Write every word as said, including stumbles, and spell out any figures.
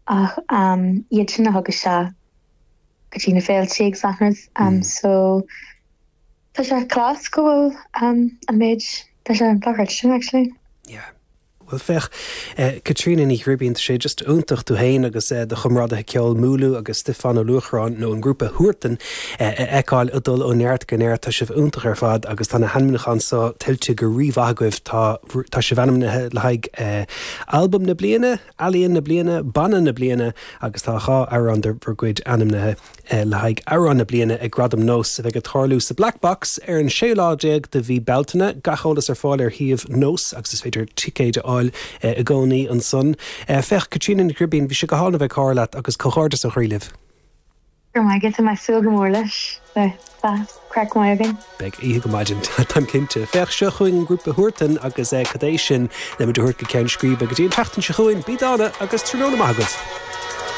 ach um, iad sin a thug isteach go dtí na féilte agus achan rud um, mm. so tá sé class go bhfuil um, an méid tá sé an sin actually. Yeah. Well féach eh, Caitríona Ní Ghribín sé just iontach tú féin agus eh, do chomrádaithe ceoil Múlú agus Stiofán Ó Luachráin nó an grúpa Huartan eh, eáil a dul ó neart go neart tá sibh iontach ar fad agus tá na hainmniúcháin seo tuillte go rímhaith agaibh tá tá sibh ainmnithe le haghaidh eh, albam na bliana, ealaíon na bliana, banna na bliana agus tá dhá amhrán de bhur gcuid ainmnithe eh, le haghaidh amhrán na bliana ag Gradaim NÓS a bheidh ag tarlú sa Black Box ar an séú lá déag de mhí Bealtaine gach eolas ar fáil ar shuíomh NÓS agus is féidir ticéid a fháil eh, i gcónaí ansan. Eh, féach Caitríona Ní Ghribín bhí sé go hálainn a bheith ag comhrá leat agus comhghairdeas ó chroí libh. Gur get mé súil go mór leis craic maith againn. Beidh oíche go maidin Táim cinnte. Féach seo chugainn an grúpa Huartan agus é cad é sin le muid a thabhairt go ceann scríbe go dtí an tseachtain seo chugainn bí dána agus tráthnóna maith agaibh.